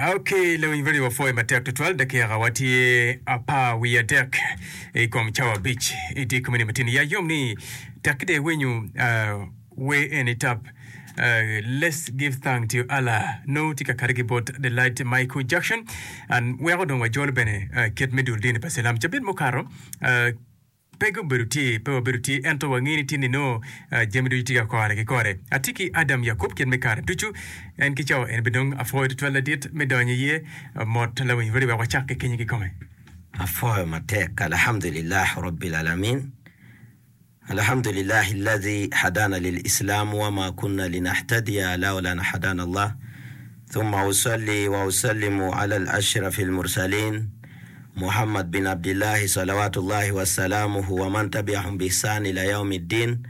Ok, lawiny radio wapwoyo matek tutwal. Dakika watye 13 i kom cawa abic i dye komini matini. Ya yom ni tek ki dong iwinyo uh, wer eni tap uh, Let's give thank to Allah nongo tye ka kati ki bot The Light Michael Jackson and weko dong wajolo bene uh, kit me dul dini pa Cilam. Cabit mukato uh, Pe gubedo tye, pe wabedo tye, ento wangeyo ni tye nino jami ducu tye ka kore ki kore. Atye ki Adam Yakub kit me kare ducu, en ki cawa eni bene dong apwoyo tutwal ladit me donyo iye. Mot lawiny rwodi wek wacak ki kenyo kikome. Apwoyo matek Alhamdulillah Rabbil Alamin Alhamdulillah alladhi hadana lil Islam wama kunna linahtadiya lawla an hadana Allah Thumma usalli wa usallimu ala al ashrafil mursalin Muhammad bin Abdillahi salawatullahi wa salamuhu wa man tabi'ahum bi ihsan ila yawmi ddin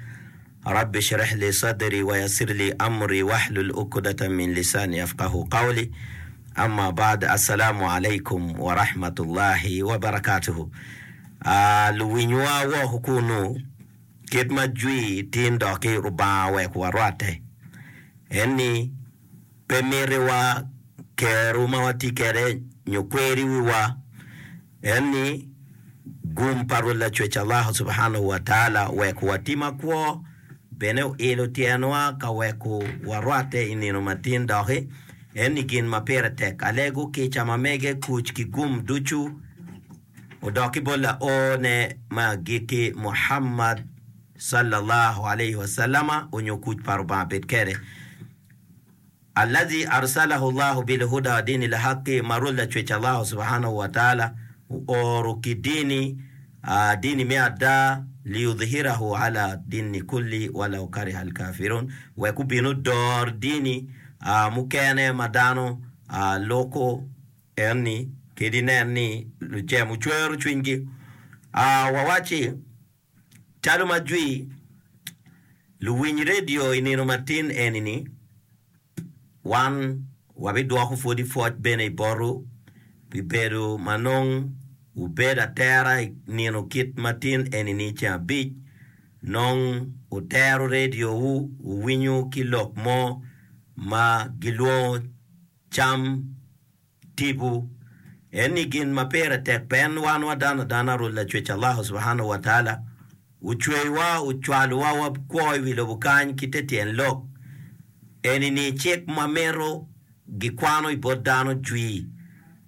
Rabbi shrah li sadri wa yassir li amri wahlul ukdatan min lisani yafqahu qawli Amma ba'd Assalamu alaykum wa rahmatullahi wa barakatuhu Luwinywa woko kunu kit ma jwi tin doki Rubanga wek warwatte en ni Pe mitiwa keru ma watye kwede nyo kweri wiwa en ni gum pa Rwot Lacwec Allahu Subhanahu wa Ta'ala weko wati makwo bene oilo tyenwa ka weko warwatte i nino matin doki en ni gin ma pire tek alego kica ma mege kuc ki gum ducu odok ki bot laor ne me agikki Muhammad Sallallahu Alaihi Wasallama onyo kuc pa Rubanga bed kede. Alladhi arsalahu Allahu bil huda wa dinil haqqi, ma Rwot Lacwec Allahu subhanahu wa ta'ala ooro ki dini, dini me ada, liyudhhirahu ala dinni kulli walau kariha alkafirun, wek obin odor dini mukene ma dano luko en-ni kadi nen ni lujemo cwero cwinygi. Wawacci. Calo ma jwi luwiny redio i nino matin eni-ni, wan wabidwoko pwod i pwoc bene i botwu pi bedo ma nongo wubedo atera i nino kit matin eni-ni i ceng abic, nongo wutero rediowu wuwinyo ki lok mo ma gilwongo cam. Tipo en ni gin ma pire tek pien wan wa dano adana Rwot Lacwec Allahu Subhanahu wa Ta'ala ocweyowa ocwalowa wa kwo i wi lobo kany ki te tyen lok eni ni cik ma mito gikwano i bot dano jwi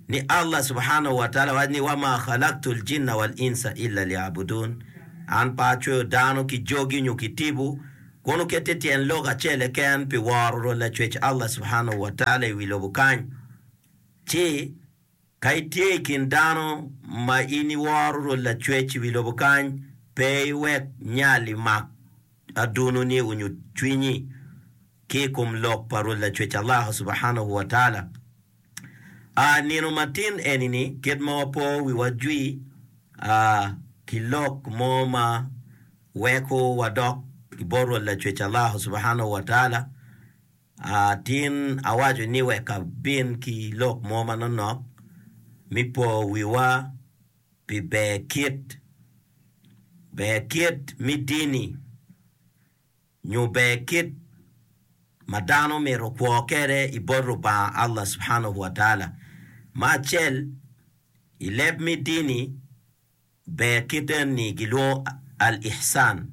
ni Allah Subhanahu wa Ta'ala waco ni wa ma khalaktul jinna wal insa illa liya'budun an pe acweyo dano ki jogi nyo ki tipo kono ki te tyen lok acel keken pi woro Rwot Lacwec Allah Subhanahu wa Ta'ala i wi lobo kany, ci ka itye i kin dano ma in iworo Rwot Lacwec i wi lobo kany, pe iwek nyal imak adunoni onyo cwinyi ki i kom lok pa Rwot Lacwec Allah Subhanahu wa Ta'ala. A Nino matin eni-ni, kit ma wapo wiwa jwi a ki lok mo ma weko wadok i bot Rwot Lacwec Allahu Subhanahu wa Ta'ala, tin awaco ni wek abin ki lok mo manonok mi po wiwa pi ber kit, ber kit mi dini nyo ber kit ma dano myero okwo kwede i bot Rubanga Allah Subhanahu wa Ta'ala. Me acel, i leb mi dini, Ber kit en-ni gilwongo Al-Ihsan.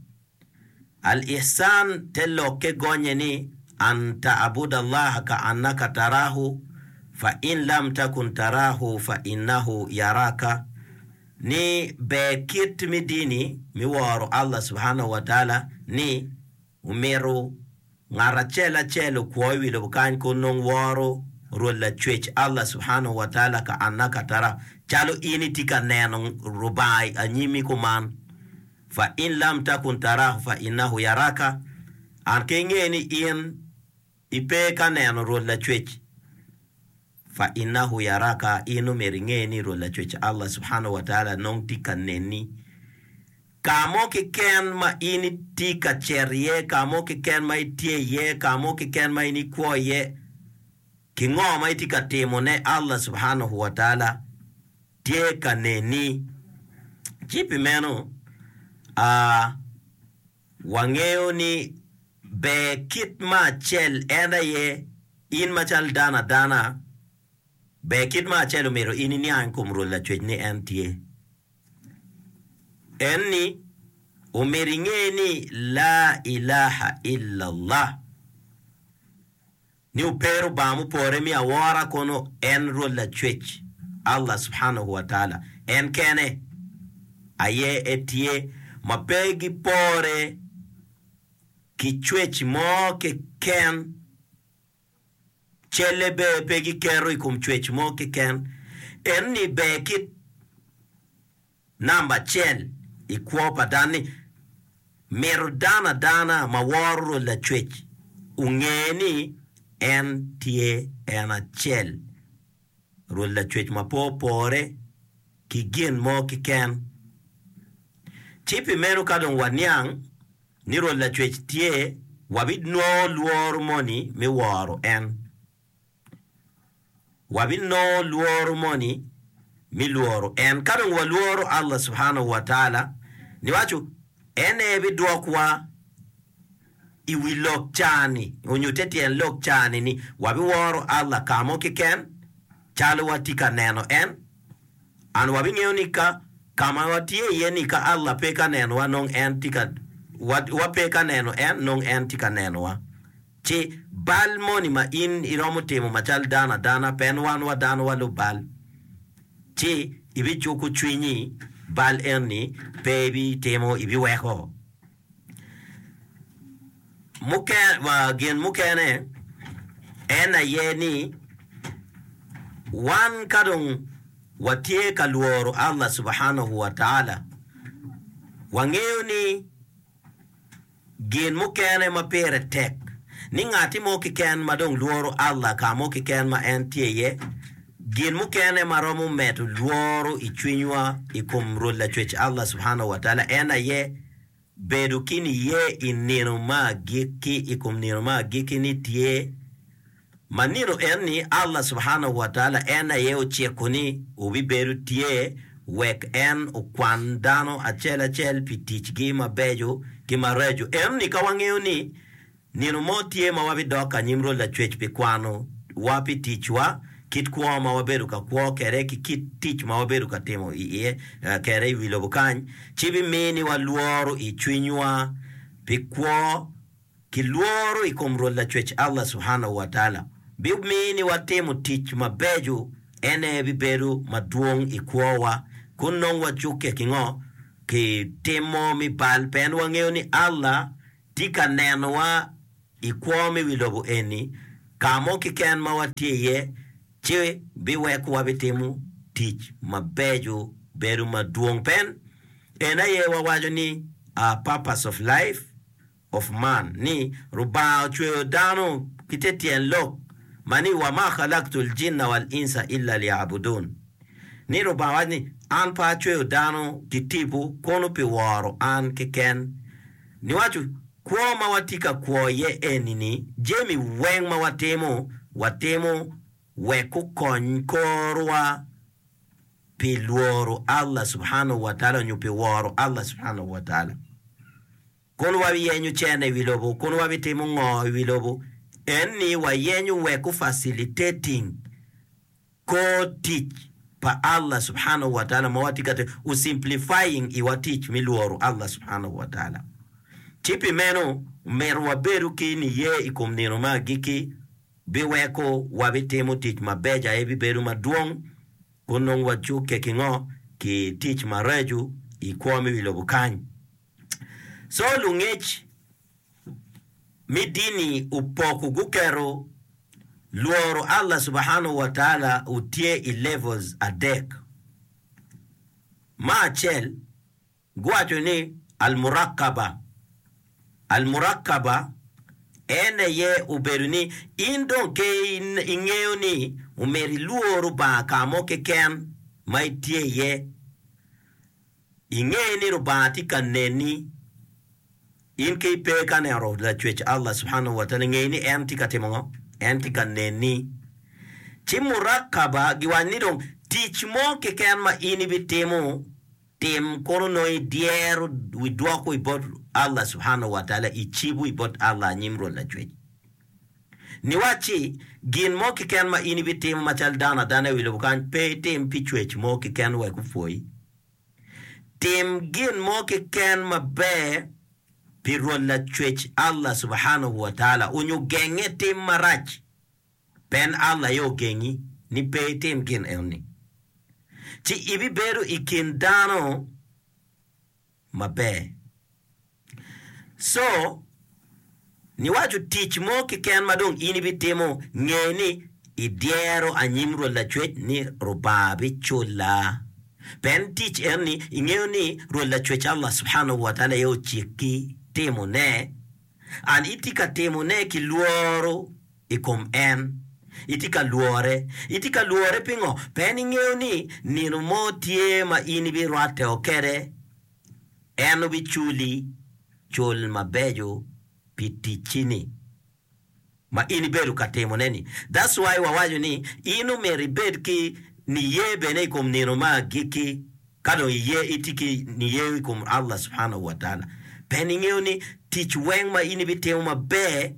Al-Ihsan te lokke gonye ni, An ta'abuda Allaha ka'annaka tarahu, fa in lam takun tarahu fa innahu yaraka, ni ber kit me dini me woro Allah subhanahu wa ta'ala ni, Omito ngat acel acel okwo i wi lobo kany kun nongo woro Rwot Lacwec Allah Subhanahu wa Ta'ala ka annaka tara, calo in itye ka neno Rubanga i anyimmi kuman, fa in lam takun tarahu fa innahu yaraka, an ka inge ni in ipe ka neno Rwot Lacwec, fa innahu yaraka, in omyero inge ni Rwot Lacwec Allah Subhanahu wa Ta'ala nongo tye ka neni. Ka mo keken ma in itye ka cito iye, ka mo keken ma itye iye, ka mo keken ma in ikwo iye, ki ngo ma itye ka timone, Allah subhanahu wa ta'ala tye ka neni. Ci pi meno, a wangeyo ni ber kit me acel en aye in macalo dano adana. Ber kit me acel omito in iniang i kom Rwot Lacwec ni en tye. En ni, omito inge ni La ilaha illallah, ni ope Rubanga mupore me awora kono en Rwot Lacwec, Allah subhanahu wa ta'ala, en kene aye etye ma pe gipore ki cwec mo keken. Celle ber pe giketo i kom cwec mo keken. Enoni ber kit namba acel i kwo pa dano ni mito dano adana ma woro Rwot Lacwec onge ni en tye en acel, Rwot Lacwec ma pe opore ki gin mo keken. Ci pi meno ka dong waniang ni Rwot Lacwec tye, wabinongo lworo moni me woro en. Wabinongo lworo moni me lworo en. Ka dong walworo Allah subhanahu wa ta'ala, niwaco en aye bidwokwa i wi lok ca-ni onyo te tyen lok ca-ni ni wabiworo Allah ka mo keken calo watye ka neno en. An wabingeyo ni ka ka ma watye iye ni ka Allah pe ka nenowa nongo en tye ka wa pe ka neno en nongo en tye ka nenowa. Ci bal moni ma in iromo timo macal dano adana pen wan wa dano wa lubal ci ibicuko cwinyi bal eni pe ibitimo ibiweko. Gin mukene en aye ni wan ka dong watye ka lworo Allah subhanahu wa ta'ala, wangeyo ni gin mukene ma pire tek ni ngati mo keken ma dong lworo Allah ka mo keken ma en tye iye, gin mukene ma romo medo lworo i cwinywa i kom Rwot Lacwec Allah subhanahu wa ta'ala en aye Bedo ki niye i nino me agikki i kom nino me agikki ni tye, ma nino en-ni Allah subhanahu wa ta'ala en aye ociko ni obibedo tye wek en okwan dano acel acel pi ticgi mabeco ki maraco. Enoni ka wangeyo ni Nino mo tye ma wabidok anyim Rwot Lacwec pi kwano wa pi ticwa, kit kwo ma wabedo ka kwo kwede ki kit tic ma wabedo ka timo iye kwede i wi lobo kany, ci biminiwa lworo i cwinywa pi kwo ki lworo i kom Rwot Lacwec Allah Subhanahu wa Ta'ala. Biminiwa timo tic mabeco en aye bibedo madwong i kwowa kun nongo wacukke ki ngo? Ki tim mo me bal pien wangeyo ni Allah Tye ka nenowa i kwo me wi lobo eni, ka mo keken ma watye iye, ci biweko wabitimo tic mabeco bedo madwong. Pen en aye wawaco ni a purpose of life of man, ni Rubanga ocweyo dano ki te tyen lok ma ni wa ma khalaktul jinna wal insa illa liyabudun, ni Rubanga waco ni an pe acweyo dano ki tipo kono pi woro an keken. Niwaco, Kwo ma watye ka kwo iye eni-ni, jami weng ma watimo, watimo wek okony korwa pi lworo Allah subhanahu wa ta'ala nyo pi woro Allah subhanahu wa ta'ala. Kono wabiyenyo cene i wi lobo, kono wabitimo ngo i wi lobo, en ni wayenyo wek o facilitating Kor tic pa Allah subhanahu wa ta'ala ma watye ka timo, u simplifying iwa tic me lworo Allah subhanahu wa ta'ala. Ci pi meno, myero wabedu ki niye i kom nino me agikki biweko wabitimo tic mabeco aye bibedo madwong kun nongo wacukke ki ngo? Ki tic maraco i kwo me wi lobo kany. Co lungec me dini opoko guketo lworo Allah subhanahu wa ta'ala otye i levels adek. Ma acel guwaco ni al-muraqaba, al-muraqaba en aye obedo ni in dong ke ingeyo ni omyero ilwor Rubanga ka mo keken ma itye iye. Inge ni Rubanga tye ka neni, in ka ipe ka neno Lacwec Allah subhanahu wa ta'ala, nge ni En tye ka timo ngo? En tye ka neni. Ci murakaba giwaco ni dong tic mo keken ma in ibitimo, tim kono nongo idyero idwoko i bot Allah subhanahu wa ta'ala, icibo i bot Allah anyim Rwot Lacwec. Niwacci, gin mo keken ma in ibitimo macalo dano adana i wi lobo kany, pe itim pi cwec mo keken wek opwoyi. Tim gin mo keken maber pi Rwot Lacwec Allah Subhanahu wa Ta'ala onyo genge tim marac. Pen Allah aye ogengi ni pe itim gin enoni, ci ibibedo i kin dano maber. Co, niwaco tic mo keken ma dong in ibitimo, nge ni idyero anyim Rwot Lacwec ni Rubanga biculla. Pen tic enoni ingeyo ni Rwot Lacwec Allah Subhanahu wa Ta'ala aye ocikki timo ne, and itye ka timo ne ki lworo i kom en. Itye ka lwore. Itye ka lwore pingo? Pien ingeyo ni nino mo tye ma in ibirwatte-o kwede, en obiculi cul mabeco pi ticci-ni ma in ibedo ka timone-ni. That's why wawaco ni in omyero ibed ki niye bene i kom nino me agikki. Ka dong iye itye ki niye i kom Allah subhanahu wa ta'ala, pien ingeyo ni tic weng ma in ibitimo maber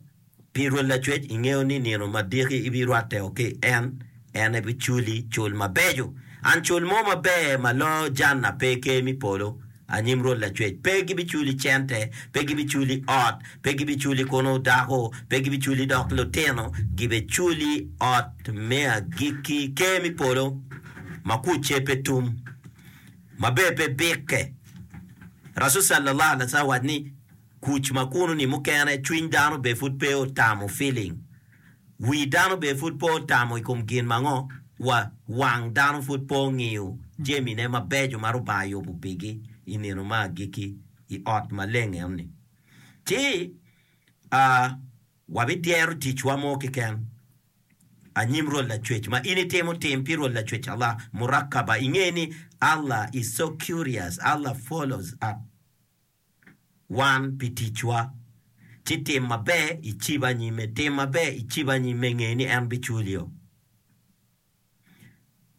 Pi Rwot Lacwec, ingeyo ni nino ma diki ibirwatteo ki en, en ebiculi cul mabeco. An cul mo maber ma loyo Janna pe ker mi polo anyim Rwot Lacwec. Pe gibiculi cente, pe gibiculi ot, pe gibiculi kunu dako, pe gibiculi dok lutino, gibeculi ot me agikki, ker mi polo ma kucce pe tum, ma ber pe bikke. Rasul Sallallahu Alaihi Wasallam owaco ni, Kuc ma kunu ni mukene cwiny dano be pud pe otamo feeling wi dano be pud pe otamo i kom gin ma ngo wa wang dano pud pe ongiyo jami ne mabeco ma Rubanga oyubo pigi i nino me agikki i ot maleng eno ni. Ci a wabidyero ticwa mo keken anyim Rwot Lacwec ma in itimo tim pi Rwot Lacwec Allah murakaba inge ni Allah is so curious Allah follows up. wan pi ticwa, ci tim maber icib anyimme, tim maber icib anyimme, nge ni en biculio.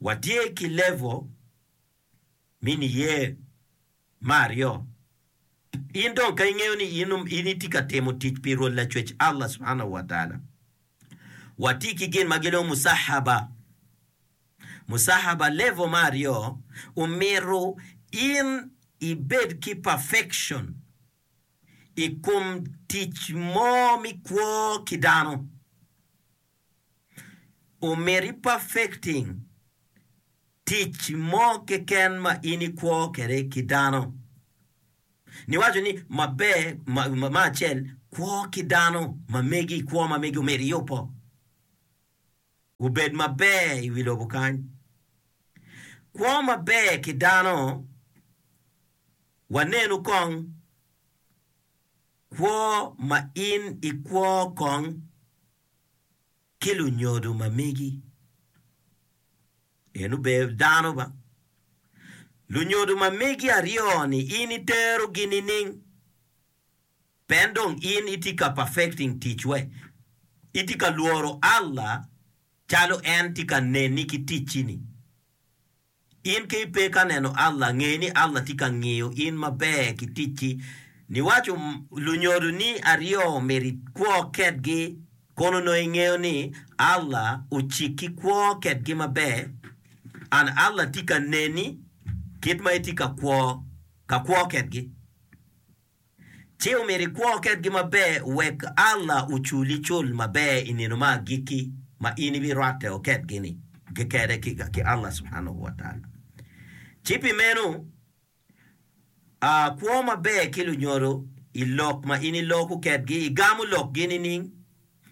Watye ki level me niye me aryo. In dong ka ingeyo ni in in itye ka timo tic pi Rwot Lacwec Allah subhanahu wa ta'ala, watye ki gin ma gilwongo musahaba. Musahaba level me aryo omito in ibed ki perfection i kom tic mo me kwo ki dano. Omito i perfecting tic mo keken ma in ikwo kwede ki dano. Niwaco ni maber me acel kwo ki dano ma megi, kwo ma megi omito iyubbo. Wubed maber i wi lobo kany. Kwo maber ki dano. Wanenu kong kwo ma in ikwo kong ki lunyodo ma megi. En obedo dano ba. Lunyodo ma megi aryo-ni in iterogi nining? Pien dong in itye ka perfecting ticwe, itye ka lworo Allah calo en tye ka neni ki ticci-ni. In ka ipe ka neno Allah, nge ni Allah tye ka ngiyo in maber ki ticci. Niwaco lunyodoni aryo myero ikwo kedgi kono nongo ingeyo ni Allah ocikki kwo kedgi maber and Allah tye ka neni kit ma itye ka kwo ka kwo kedgi. Ci omyero ikwo kedgi maber wek Allah oculi cul maber i nino me agikki ma in ibirwatte o kedgi-ni kede ki Allah subhanahu wa ta'ala. Ci pi meno, a kwo maber ki lunyodo i lok ma in iloko kedgi, igamo lokgi nining?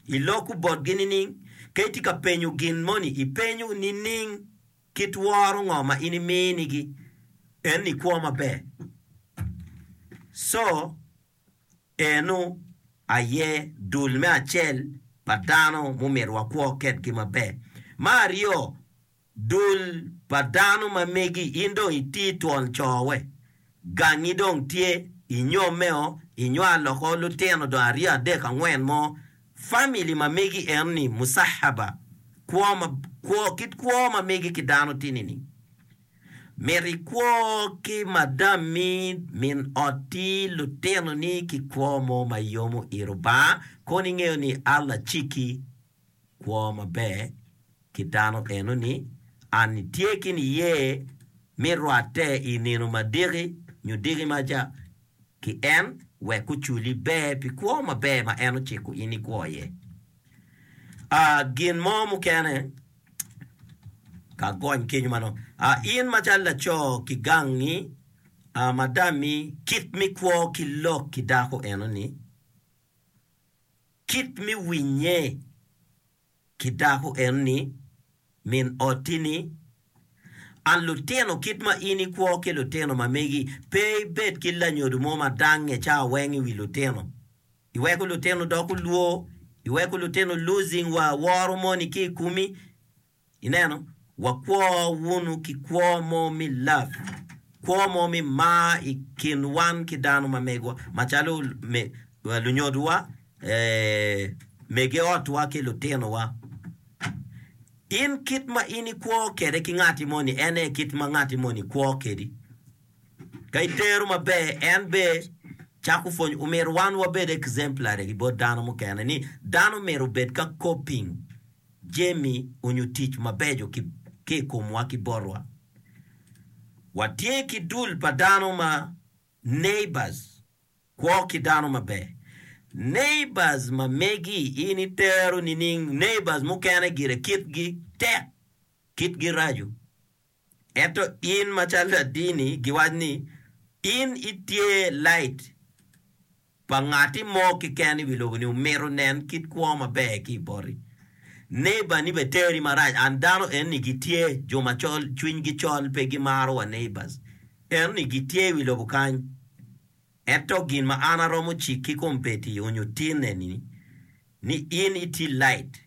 Iloko botgi nining? Ka itye ka penyo gin moni, ipenyo nining? Kit woro ngo ma in iminigi en ni kwo maber? Co eno aye dul me acel pa dano mumito wakwo kedgi maber. Me aryo, dul pa dano ma megi in dong iti twon co we. Gangi dong tye, inyommeo, inywalo oko lutino dong aryo, adek, angwen mo. Family ma megi eno ni musahaba, kwo ma kwo kit kwo ma megi ki dano tye nining? Mito ikwo ki madammi, min otti, lutinoni ki kwo mo ma yomo i Rubanga kono ingeyo ni Allah cikki. kwo maber ki dano eno-ni and itye ki niye me rwatte i nino madiki nyo diki maca ki en wek oculi ber pi kwo maber ma en ociko in ikwo iye. A Gin mo mukene ka gony kenyo manok. A In macalo laco ki gangi, a madammi kit me kwo ki lok ki dako eno-ni, kit me winye ki dako eno-ni, min otti-ni, and lutino kit ma in ikwo ki lutino ma megi, pe ibed ki lanyodo mo ma dange ca weng i wi lutino. Iweko lutino doko lwor, iweko lutino losing wa woro moni ki i komi. Ineno, wakwo wunu ki kwo mo me love, kwo mo me mar i kin wan ki dano ma megwa, macalo lunyodowa, mege otwa ki lutinowa. In kit ma in ikwo kwede ki ngati moni en aye kit ma ngati moni kwo kwedi. Ka itero maber, en be cako pwonyo. Omyero wan wabed exemplary bot dano mukene ni dano myero obed ka copying jami onyo tic mabeco ki i komwa ki botwa. Watye ki dul pa dano ma neighbors, kwo ki dano maber. Neighbors ma megi in itero nining? Neighbors mukene gire kitgi tek, kitgi raco. Ento in macalo ladini giwaco ni in itye light pa ngati mo keken i wi lobo ni omito nen kit kwo maber ki i boti. Neighbor ni bene teri marac and dano eni gitye jo macol cwinygi col pe gimaro wa neighbors eno ni gitye i wi lobo kany. Ento gin ma an aromo ciki kombeddi onyo tin eni ni in itye light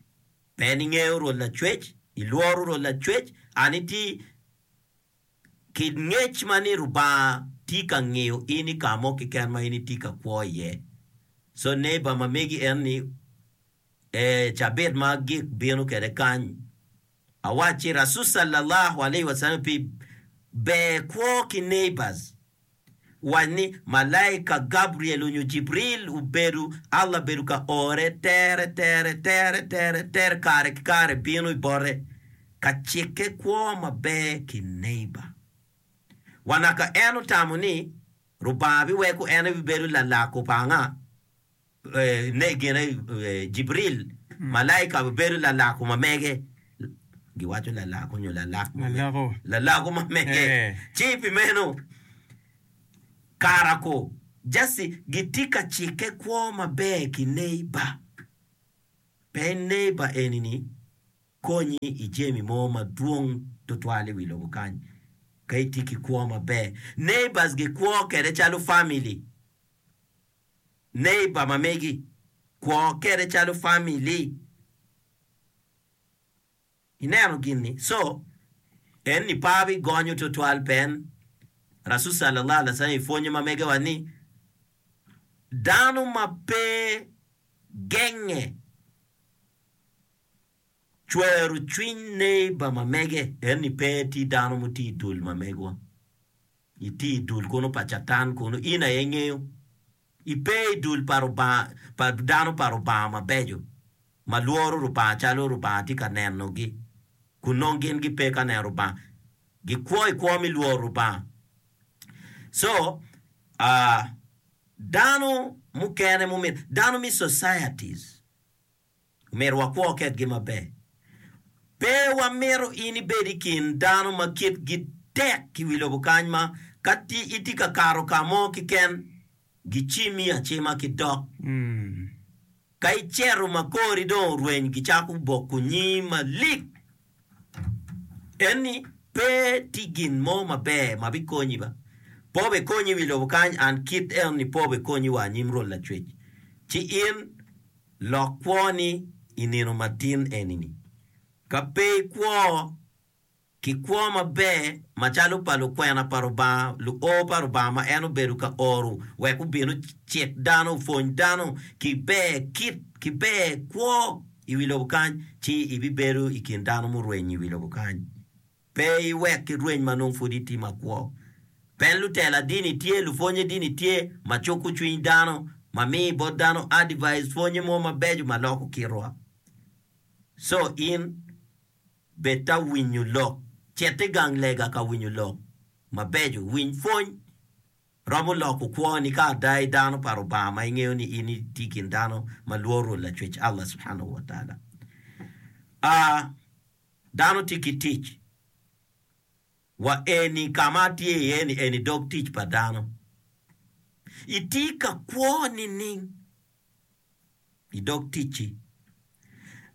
Pien ingeyo Rwot Lacwec, ilworo Rwot Lacwec, an itye ki ngec ma ni Rubanga tye ka ngiyo in i ka mo keken ma in itye ka kwo iye. So neighbor ma megi en ni ee cabit ma gik bino kwede kany, awacci Rasul Sallallahu Alaihi Wasallam pi ber kwo ki neighbors. Wac ni, Malaika Gabriel onyo Jibril obedo, Allah bedo ka ore tere tere, tere tere, tere kare ki kare bino i bote ka cikke kwo maber ki neighbor. Wa naka en otamo ni Rubanga biweko en ebibedo lalako pa anga? Ne gine Jibril, malaika obedo lalako ma mege, giwaco lalako nyo lalak ma mege. Lalako. Lalako ma mege. Eh. Ci pi meno, karako jasi gitye ka cikke kwo maber ki neighbor. Pe neighbor eni-ni konyi i jami mo madwong tutwal i wi lobo kany ka itye ki kwo maber. Neighbors gikwo kwede calo family. Neighbor ma megi kwo kede calo family ineno gin ni so en ni pa bi gonyo tutwal pen Rasul sallallahu alaihi wasallam i pwonye ma mege wa ni dano ma pe genge cwero cwiny neighbor ma mege en ni pe tye dano mutye i dul ma megwa. Itye i dul kunu pa Catan kunu, in aye ingeyo. Ipe i dul pa Rubanga, pa dano pa Rubanga mabeco, ma lworo Rubanga calo Rubanga tye ka nenogi, kun nongo gin gipe ka neno Rubanga. Gikwo i kwo me lworo Rubanga. So, uh, dano mukene mumito, dano me societies, Myero wakwo kedgi maber. Pe wamito in ibed i kin dano ma kitgi tek i wi lobo kany ma ka itye ka kato ka mo keken gicimi acima ki dok. Ka icito ma kori dong orweny gicako boko nyingi malik. En ni pe tye gin mo maber ma bikonyi ba. Pe obikonyi i wi lobo kany and kit eno-ni pe obikonyi wa anyim Rwot Lacwec. Ci in Lok kwoni i nino matin eni-ni. Ka pe ikwo ki kwo maber macalo pa lukwena pa Rubanga, luor pa Rubanga ma en obedo ka oro wek obin ocik dano, opwony dano ki ber kit, ki ber kwo i wi lobo kany, ci ibibedo i kin dano murweny i wi lobo kany. Pe iwek ki rweny ma nongo pud itye makwo. Pien lutela dini tye, lupwonye dini tye ma cuko cwiny dano, ma miyo bot dano advice, pwonye mo mabeco ma loko kitwa. So in bed ta winyo lok, cit i gang lega ka winyo lok mabeco, winy pwony romo loko kwoni ka ada i dano pa Rubanga ma ingeyo ni in itye i kin dano ma lworo Rwot Lacwec Allah subhanahu wa ta'ala. A Dano tye ki tic. Wa eni ka ma atye iye ni eni dog tic pa dano. Itye ka kwo nining i dog ticci?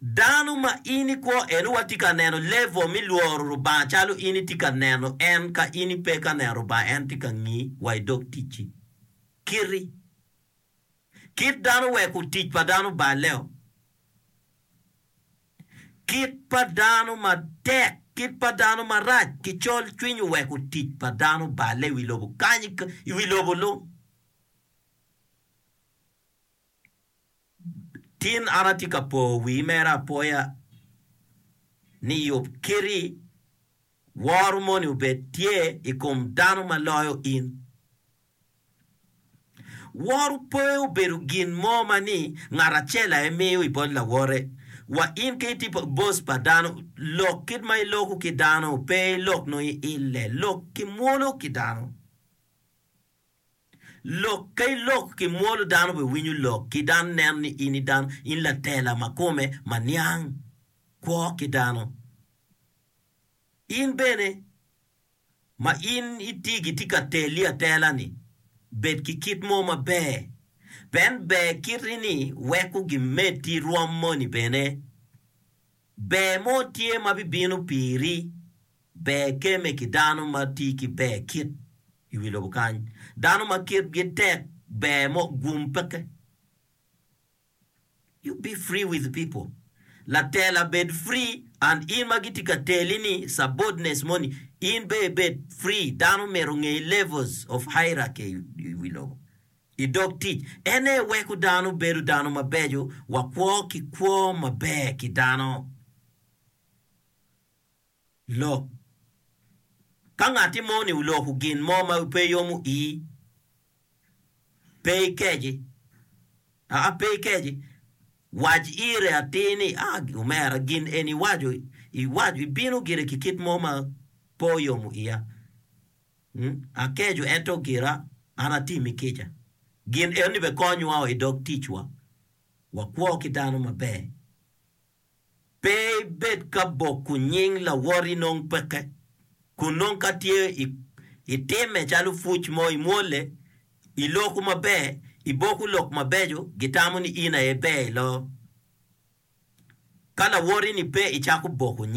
Dano ma in ikwo eno wa tye ka neno level me lworo Rubanga calo in itye ka neno en ka in ipe ka neno Rubanga en tye ka ngi wa i dog ticci. Kiti. Kit dano weko tic pa dano balle-o. Kit pa dano matek, kit pa dano marac ki col cwiny oweko tic pa dano balle i wi lobo kany, i wi lobo lung. Tin an atye ka po wii mere apoya ni yub kiti woro moni obed tye i kom dano ma loyo in. Woro pe obedo gin mo ma ni ngat acel aye miyo i bot lawote. Wa in ka itye boss pa dano, lok kit ma iloko ki dano, pe ilok nongo iille. Lok ki mwolo ki dano. Lok ka ilok ki mwolo dano biwinyo lok ki dano neno ni in i dano, in latela ma kome ma niang kwo ki dano. In bene ma in itye gitye ka teli atela-ni, bed ki kit mo maber. Pien ber kiti-ni weko gimeddi rwom moni bene. Ber mo tye ma bibino piri, ber kemme ki dano ma tye ki ber kit i wi lobo kany. Dano ma kitgi tek ber mo gum peke. You be free with people. Latela bed free and in ma gitye ka teli ni subordinates moni in be ibed free. Dano myero onge levels of hierarchy i wi lobo. I dog tic. En aye weko dano bedo dano mabeco wa kwo ki kwo maber ki dano. Lok. Ka ngatti mo-ni oloko gin mo ma pe yomo ii, pe ikeci. Aa, pe ikeci. Wac ire atir ni, 'A, omera, gin eni iwaco, iwaco, ibino gire ki kit mo ma pe oyomo iya. Akeco ento gira, an atimmi kica. Gin eni bene konywa i dog ticwa. Wakwo ki dano maber. Pe ibed ka boko nying lawoti nong peke, kun nong ka tye itimme calo puc mo imwolle, iloko maber, iboko lok mabeco, gitamo ni in aye ber iloo. Ka lawoti-ni pe, icako boko nyinge.